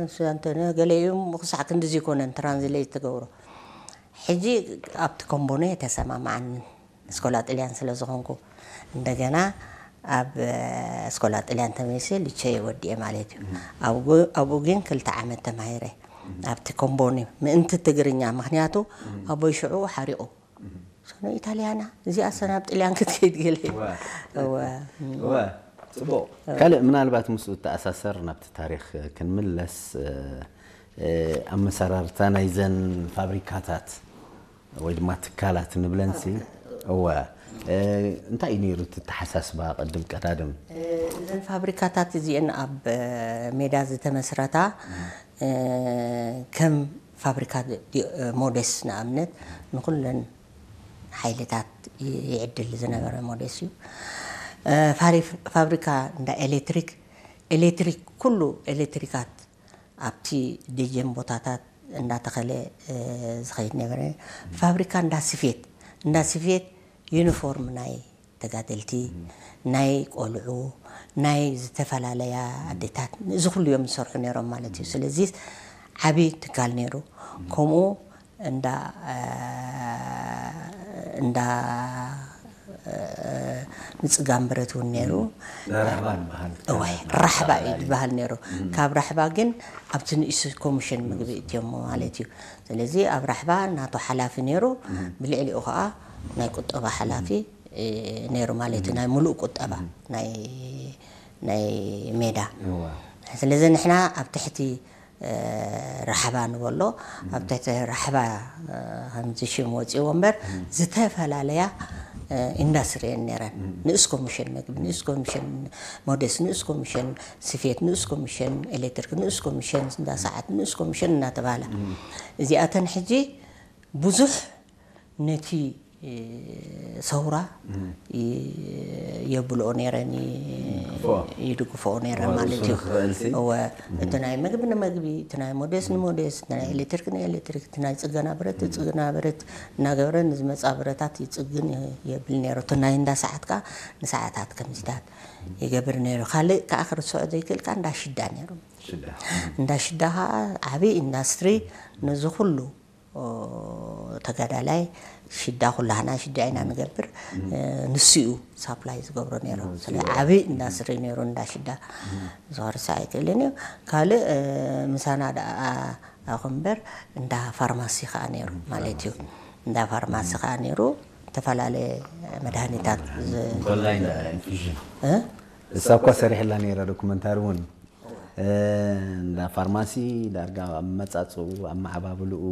ንሱ ኣንቶንዮ ገለ እዩ፣ ክሳዕ ክንድዚ ይኮነን ትራንስሌት ትገብሮ። ሕጂ ኣብቲ ኮምቦኖ የተሰማማዓኒ፣ እስኮላ ጥልያን ስለ ዝኾንኩ። እንደገና ኣብ እስኮላ ጥልያን ተመልሰ ልቸ ወዲኤ ማለት እዩ። ኣብኡ ግን ክልተ ዓመት ተማሂረ ኣብቲ ኮምቦኒ ምእንቲ ትግርኛ፣ ምክንያቱ ኣቦይ ሽዑ ሓሪቑ። ሶኖ ኢታልያና እዚኣ ሰናብ ጥልያን ክትከይድ ገለ እዩ። እወ። እወ። ጽቡቕ። ካልእ ምናልባት ምስኡ እተኣሳሰር ናብቲ ታሪኽ ክንምለስ፣ ኣመሰራርታ ናይዘን ፋብሪካታት ወይ ድማ ትካላት ንብለንሲ። እወ። እንታይ እዩ ነይሩ እቲ ተሓሳስባ ቅድም ቀዳድም? እዘን ፋብሪካታት እዚአን ኣብ ሜዳ ዝተመስረታ ከም ፋብሪካ ሞዴስ ንኣብነት ንኩለን ሓይልታት ይዕድል ዝነበረ ሞዴስ እዩ። ፋብሪካ እንዳ ኤሌክትሪክ፣ ኤሌክትሪክ ኩሉ ኤሌክትሪካት ኣብቲ ደጀን ቦታታት እንዳተኸለ ዝኸይድ ነበረ። ፋብሪካ እንዳ ስፌት፣ እንዳ ስፌት ዩኒፎርም ናይ ተጋደልቲ፣ ናይ ቆልዑ፣ ናይ ዝተፈላለያ ኣዴታት፣ እዚ ኩሉ እዮም ዝሰርሑ ነይሮም ማለት እዩ። ስለዚ ዓብዪ ትካል ነይሩ። ከምኡ እንዳ እንዳ ምፅጋን ብረት እውን ነይሩ። ራሕባ ንበሃል። እዋይ ራሕባ እዩ ዝበሃል ነይሩ። ካብ ራሕባ ግን ኣብቲ ንእሱ ኮሚሽን ምግቢ እትዮሞ ማለት እዩ። ስለዚ ኣብ ራሕባ ናቱ ሓላፊ ነይሩ። ብልዕሊኡ ከዓ ናይ ቁጠባ ሓላፊ ነይሩ ማለት እዩ። ናይ ሙሉእ ቁጠባ ናይ ናይ ሜዳ። ስለዚ ንሕና ኣብ ትሕቲ ራሕባ ንበሎ ኣብ ትሕቲ ራሕባ ከምዚ ሽም ወፂዎ እምበር ዝተፈላለያ ኢንዳስትሪ እየን ነይረን። ንእስ ኮሚሽን መግቢ፣ ንእስ ኮሚሽን ሞዴስ፣ ንእስ ኮሚሽን ስፌት፣ ንእስ ኮሚሽን ኤሌክትሪክ፣ ንእስ ኮሚሽን እንዳ ሰዓት፣ ንእስ ኮሚሽን እናተባሃለ እዚኣተን ሕጂ ብዙሕ ነቲ ሰውራ የብልኦ ነይረን፣ ይድግፍኦ ነይረን ማለት እዩ። እወ፣ እቲ ናይ መግቢ ንመግቢ፣ እቲ ናይ ሞዴስ ንሞዴስ፣ እቲ ናይ ኤሌክትሪክ ንኤሌክትሪክ፣ እቲ ናይ ፅገና ብረት ንፅገና ብረት እናገበረ ንዝመፃ ብረታት ይፅግን የብል ነይሩ። እቲ ናይ እንዳ ሰዓት ከዓ ንሰዓታት ከምዚታት ይገብር ነይሩ። ካልእ ከዓ ክርስዖ ዘይክእል ከዓ እንዳ ሽዳ ነይሩ። እንዳ ሽዳ ከዓ ዓብዪ ኢንዳስትሪ ነዚ ኩሉ ተጋዳላይ ሽዳ ኩላህና ሽዳ ኢና ንገብር። ንሱ እዩ ሳፕላይ ዝገብሮ ነይሩ። ስለ ዓብዪ ኢንዳስትሪ ነይሩ እንዳ ሽዳ። ዝኸርሳ ኣይክእልን እዩ። ካልእ ምሳና ደኣ ኣኹ እምበር እንዳ ፋርማሲ ከዓ ነይሩ ማለት እዩ። እንዳ ፋርማሲ ከዓ ነይሩ። ዝተፈላለየ መድሃኒታት ኮላይ እንዳ ኢንፊዥን እሳ እኳ ሰሪሕላ ነይራ ዶኩመንታሪ እውን እንዳ ፋርማሲ ዳርጋ ኣብ መጻጽኡ ኣብ መዓባብልኡ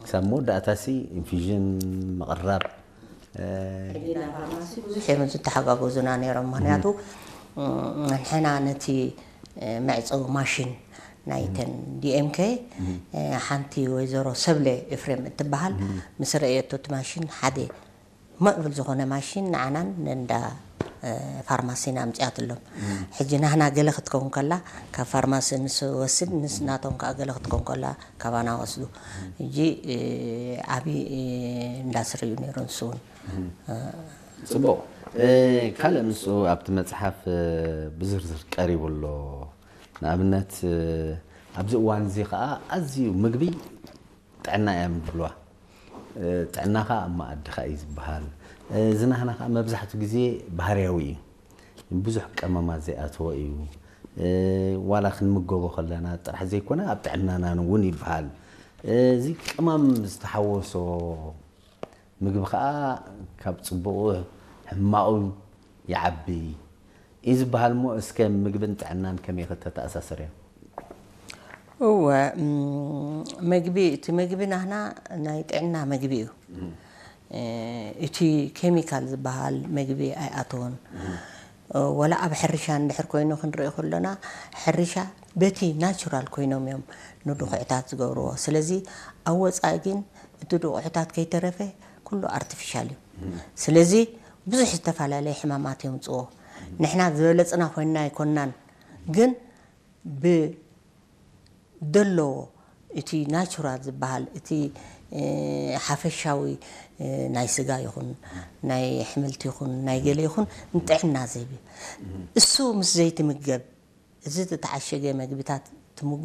ክሳብ መወዳእታሲ ኢንፊዥን ምቕራብ። ሕጂ ናይ ፋርማሲ ብዙሕ እዮም ዝተሓጋገዙና ነይሮም። ምክንያቱ ንሕና ነቲ መዕፀዊ ማሽን ናይተን ዲኤምኬ ሓንቲ ወይዘሮ ሰብለ ኤፍሬም እትበሃል ምስ ረእየቶ እቲ ማሽን ሓደ ማእብል ዝኾነ ማሽን ንዓናን ንእንዳ ፋርማሲን ኣምፂኣትሎም። ሕጂ ናህና ገለ ክትከውን ከላ ካብ ፋርማሲ ንስወስድ ንስ ናቶም ከዓ ገለ ክትከውን ከላ ካባና ወስዱ። ሕጂ ዓብዪ እንዳስሪ እዩ ነይሩ ንሱ እውን። ፅቡቕ። ካልእ ንሱ ኣብቲ መፅሓፍ ብዝርዝር ቀሪቡ ኣሎ። ንኣብነት ኣብዚ እዋን እዚ ከዓ ኣዝዩ ምግቢ ጥዕና እዮም ዝብልዋ። ጥዕናኻ ኣብ መኣድኻ እዩ ዝበሃል። ዝናህና ከዓ መብዛሕትኡ ግዜ ባህርያዊ እዩ። ብዙሕ ቀመማት ዘይኣተዎ እዩ። ዋላ ክንምገቦ ከለና ጥራሕ ዘይኮነ ኣብ ጥዕናና እውን ይበሃል። እዚ ቅመም ዝተሓወሶ ምግቢ ከዓ ካብ ፅቡቑ ሕማቑ ይዓቢ እዩ ዝበሃል እሞ እስከ ምግብን ጥዕናን ከመይ ከተተኣሳስርዮ? እወ፣ መግቢ፣ እቲ መግቢ ናህና ናይ ጥዕና መግቢ እዩ። እቲ ኬሚካል ዝበሃል መግቢ ኣይኣተወን። ወላ ኣብ ሕርሻ እንድሕር ኮይኑ ክንርኢ ከሎና ሕርሻ በቲ ናቹራል ኮይኖም እዮም ንድኹዕታት ዝገብርዎ። ስለዚ ኣብ ወፃኢ ግን እቲ ድቑዕታት ከይተረፈ ኩሉ ኣርቲፊሻል እዩ። ስለዚ ብዙሕ ዝተፈላለየ ሕማማት የምፅዎ። ንሕና ዝበለፅና ኮይንና ኣይኮንናን፣ ግን ብደለዎ እቲ ናቹራል ዝበሃል እቲ ሓፈሻዊ ናይ ስጋ ይኹን ናይ ኣሕምልቲ ይኹን ናይ ገለ ይኹን ንጥዕና ዝህብ እዩ። እሱ ምስ ዘይትምገብ እዚ ዝተዓሸገ መግብታት ትምገብ